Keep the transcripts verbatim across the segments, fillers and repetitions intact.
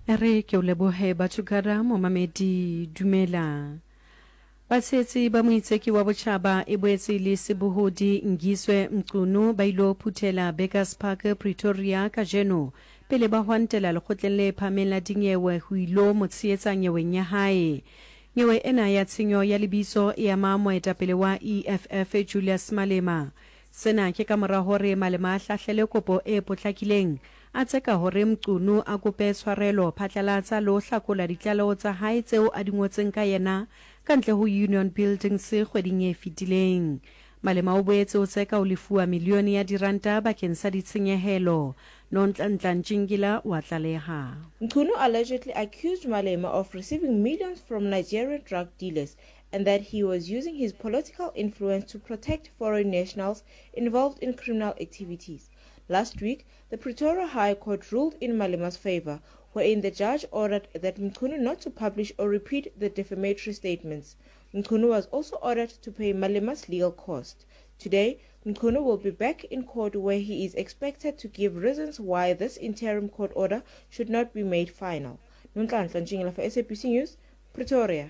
Re ke o lebohe Bathukara momamedi dumela. Batshehetsi ba moitseki wa botjhaba e boetse le sebohodi Ngizwe Mchunu ba ilo phuthela Burgers Park Pretoria kajeno pele ba hwantela lekgotleng le phahameng la dinyewe ho ilo mo tshehetsa nyeweng ya hae. Nyewe ena ya tshenyo ya lebitso e ama moetapele wa E F F Julius Malema. Sena ke ka mora hore Malema a hlahlele kopo e potlakileng a tseka hore Mchunu a kope tshwarelo phatlalatsa le ho hlakola ditlaleho tsa hae tseo a di ngotseng ka yena ka ntle ho Union Buildings kgweding e fetileng. Malema o boetse o tseka ho lefuwa milione ya diranta bakeng sa ditshenyehelo. Nonhlanhla Ntshingila wa tlaleha. Mchunu allegedly accused Malema of receiving millions from Nigerian drug dealers and that he was using his political influence to protect foreign nationals involved in criminal activities. Last week, the Pretoria High Court ruled in Malema's favor, wherein the judge ordered that Mchunu not to publish or repeat the defamatory statements. Mchunu was also ordered to pay Malema's legal cost. Today, Mchunu will be back in court where he is expected to give reasons why this interim court order should not be made final. Nonhlanhla Ntshingila for S A B C News, Pretoria.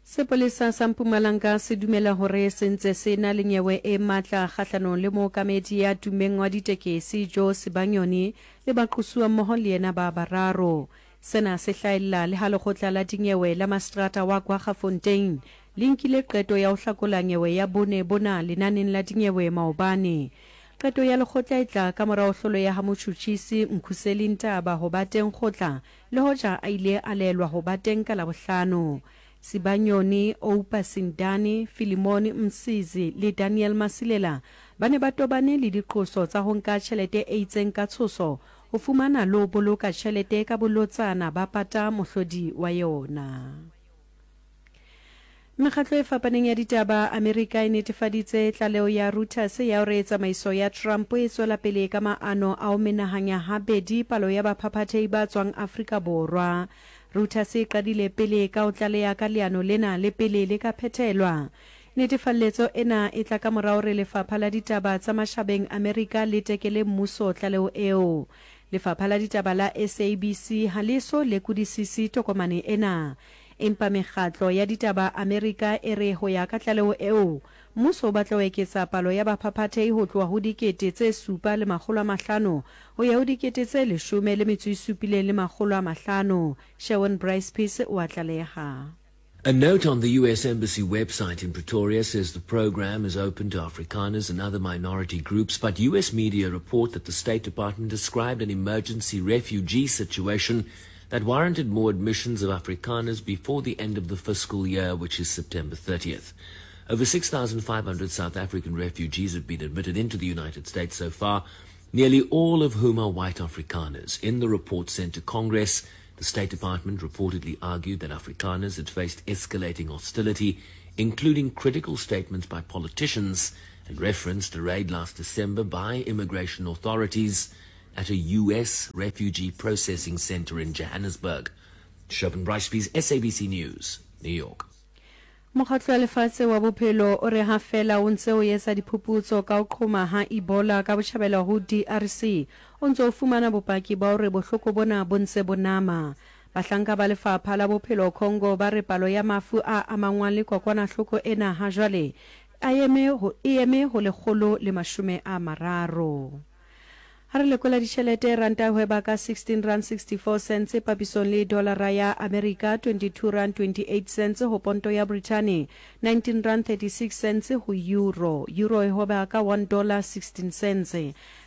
Sepolesa sa Mpumalanga se dumela hore se ntse se na le nyewe e matla kgahlanong le mookamedi ya tummeng wa ditekesi Joe Sibanyoni le baqosuwa mmoho le yena ba bararo. Sena se hlahella le ha lekgotla la dinyewe la mastrata wa Kwaggafontein le nkile qeto ya ho hlakola nyewe ya bone bona lenaneng la dinyewe maobane. Qeto ya lekgotla e tla ka morao hlolo ya ha motjhutjhisi Mkhuseli Ntaba ho ba teng kgotla le hoja a ile a laelwa ho ba teng ka Labohlano. Sibanyoni, Oupa Sindani, Philemon Msizi le Daniel Masilela ba ne ba tobane le diqoso tsa ho nka tjhelete e itseng ka tshoso ho fumana le ho boloka tjhelete ka bolotsana ba pata mohlodi wa yona. Mekgatlo e fapaneng ya ditaba Amerika e netefaditse tlaleho ya Reuters ya hore tsamaiso ya Trump e tswela pele ka maano a ho menahanya habedi palo ya baphaphathehi ba tswang Afrika Borwa. Reuters e qadile pele ka ho tlaleha ka leano lena le pele le ka phethelwa. Netefalletso ena e tla ka mora hore lefapha la ditaba tsa mashabeng Amerika le tekele mmuso tlaleho eo. Lefapha la ditaba la S A B C ha le so lekodisise tokomane ena. Empa mekgatlo ya ditaba Amerika e re ho ya ka tlaleho eo, mmuso o batla ho eketsa palo ya baphaphathehi ho tloha ho dikete tse supa le makgolo a mahlano ho ya ho dikete tse leshome le metso e supileng le makgolo a mahlano. Sherwin Bryce Peace wa tlaleha. A note on the U S Embassy website in Pretoria says the program is open to Afrikaners and other minority groups, but U S media report that the State Department described an emergency refugee situation that warranted more admissions of Afrikaners before the end of the fiscal year, which is September thirtieth. Over six thousand five hundred South African refugees have been admitted into the United States so far, nearly all of whom are white Afrikaners. In the report sent to Congress, the State Department reportedly argued that Afrikaners had faced escalating hostility, including critical statements by politicians, and referenced a raid last December by immigration authorities at a U S refugee processing center in Johannesburg. Sherwin Bryce, S A B C News, New York. Mokgatlo wa Lefatshe wa Bophelo o re ha feela o ntse o etsa diphuputso ka ho qhoma ha Ebola ka botjhabela ho D R C, o ntse o fumana bopaki ba hore bohloko bona bo ntse bo nama. Bahlanka ba lefapha la bophelo Congo ba re palo ya mafu a amangwang le kokwanahloko ena ha jwale a eme ho e eme ho lekgolo le mashome a mararo. Ha re lekola ditjhelete, ranta e hweba ka sixteen rand sixty-four cents papisong le dollara ya Amerika, twenty-two rand twenty-eight cents ho ponto ya Brittany, nineteen rand thirty-six cents ho euro. Euro e hweba ka one dollar sixteen cents.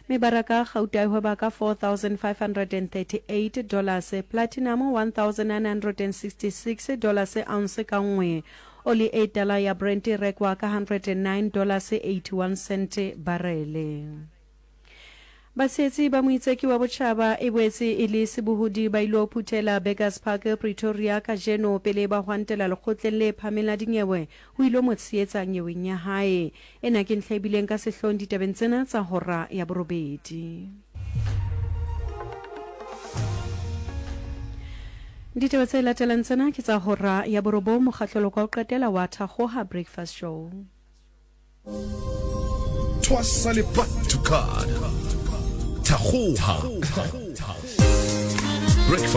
Mebaraka gauta e hweba ka four thousand five hundred thirty-eight dollars, platinum one thousand nine hundred sixty-six dollars ounce ka nngwe. Oli e tala ya Brent e rekwa ka hundred nine dollars eighty-one cent barele. Batshehetsi ba moitseki wa botjhaba e boetse e le sebohodi ba ilo phuthela Burgers Park Pretoria kajeno pele ba hwantela lekgotleng le phahameng la dinyewe ho ilo mo tshehetsa nyeweng ya hae. Ena ke ntlha e bileng ka sehloohong ditabeng tsena tsa hora ya borobedi. Ditaba tse latelang tsena ke tsa hora ya borobong, mokgahlelo wa ho qetela wa Thakgoha Breakfast Show. Twasa le Batukad. Thakgoha Breakfast.